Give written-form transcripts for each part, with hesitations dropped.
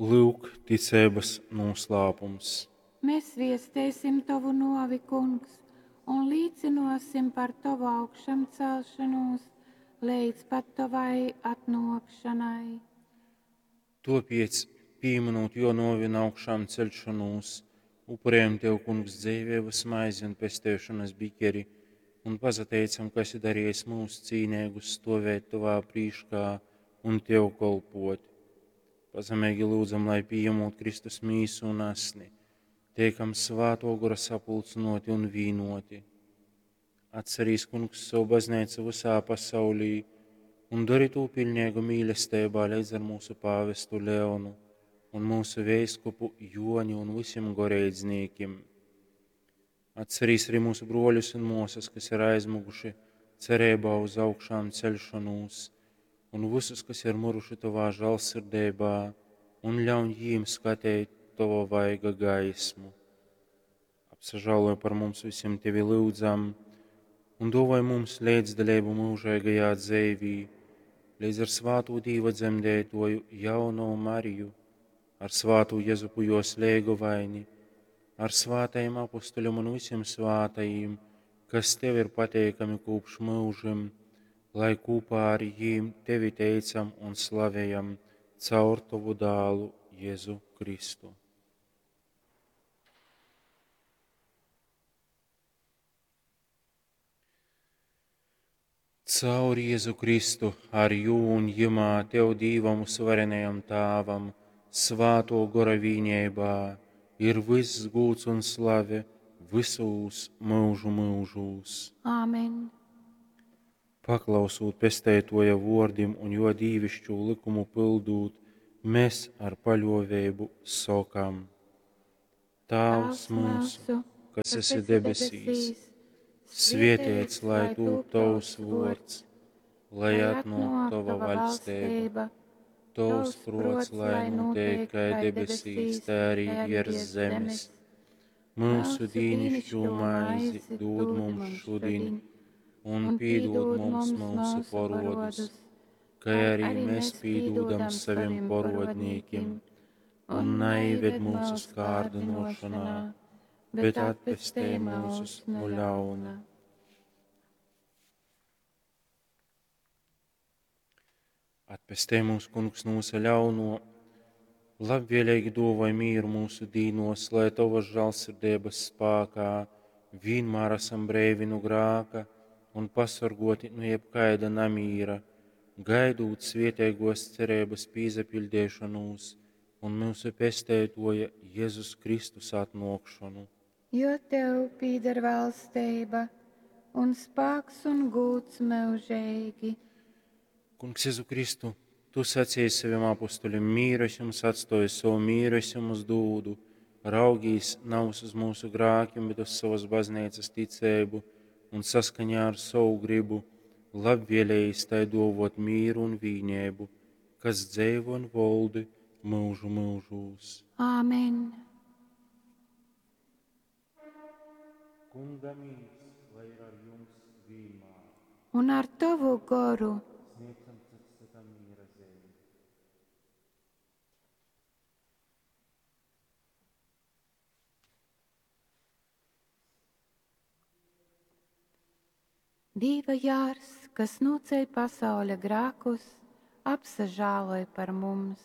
Lyuk, ticeibas nūslāpums. Mēs viestēsim tovu nōvi, Kungs, un līcynōsim par tovu augšamcelšanūs leidz pat tovai atnōkšanai. Tōpēc, pīmynūt jō nōvi un augšām ceļšanūs, upurējam Tev, Kungs, dzeiveibas maizi un pesteišonas bikeri un pasateicam, ka esi darījis mūs cīneigus stovēt Tovā prīškā un Tev kolpot. Pazemeigi lūdzam, lai pījemot Kristus mīsu un asni, teikam Svātō Gora sapulcynōti un vīnoti. Atcerīs, Kungs, savu baznīcu visā pasaulī un dori tū pilnīgu mīlestībā līdz ar mūsu pāvestu Leonu un mūsu veiskupu Joni un visiem goreidznīkim. Atcerīs arī mūsu broļus un mūsas, kas ir aizmuguši cerībā uz augšām celšanos, un visus, kas ir muruši Tavā žālsirdībā, un ļauj jīm skatīt Tava vaiga gaismu. Apsažāloj par mums visiem Tevi lūdzam, un dāvāj mums līdzdalību mūžīgajā dzīvī, līdz ar svāto Dīva dzemdētoju jauno Mariju, ar svāto Jezupu jos lēgovaini, ar svātajiem apustuļiem un visiem svātajiem, kas Tev ir pateikami kopš mūžim, lai kopā ar jīm Tevi teicam un slavējam caur Tavu dālu Jēzu Kristu. Caur Jēzu Kristu, ar jū un jumā Tev Dīvam uzvarenajam Tāvam, svāto gora vīnībā, ir viss gūts un slave visūs mūžu mūžūs. Āmen. Paklausūt pestētoja vordim un jo dīvišķo likumu pildūt, mēs ar paļovēbu sokam. Tāvs mūsu, kas esi debesīs, svietēts, lai tūp tavs vords, lai atnāk tava vaļstība, tavs prots, lai notiek kā debesīs, tā arī virs zemes. Mūsu dīnišķo maizi dod mums šodien, un piedod mums mūsu parodus, kā arī mēs piedodam saviem parodnīkiem, un neived mūsu kārdinošanā, bet atpestē mūsus no ļauna. Atpestē mūs, Kungs, no visa ļauno, labvēlīgi dāvāj mieru mūsu dīnos, lai Tavas žēlsirdības spēkā vienmēr esam brīvi no grāka un pasargoti no jebkaida namīra, gaidūt svietēgos cerības pīzapildīšanos un mūsu pestētoja Jēzus Kristus atnākšanu. Jo tev pīder valstība un spēks un gūts mūžīgi. Kungs Jēzu Kristu, tu sacīji saviem apustuļiem, mīru es jums atstoju, savu mīru es jums dūdu, raugīs nav uz mūsu grākiem, bet uz savas baznīcas ticību un saskaņā ar savu gribu, labvēlējis tai dovot mīru un vīnēbu, kas dzeivo un voldi mūžu mūžūs. Āmen. Kunga mīrs, lai ir ar jums vienmēr. Un ar tavu goru. Sniedzam cits citam miera zīmi. Dīva jārs, kas noceļ pasauļa grākus, apsažāloj par mums.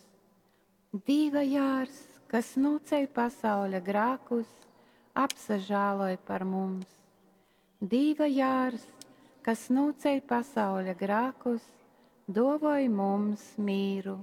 Dīva jārs, kas noceļ pasauļa grākus, apsažāloj par mums. Dīva jārs, kas noceļ pasauļa grākus, dovoj mums mīru.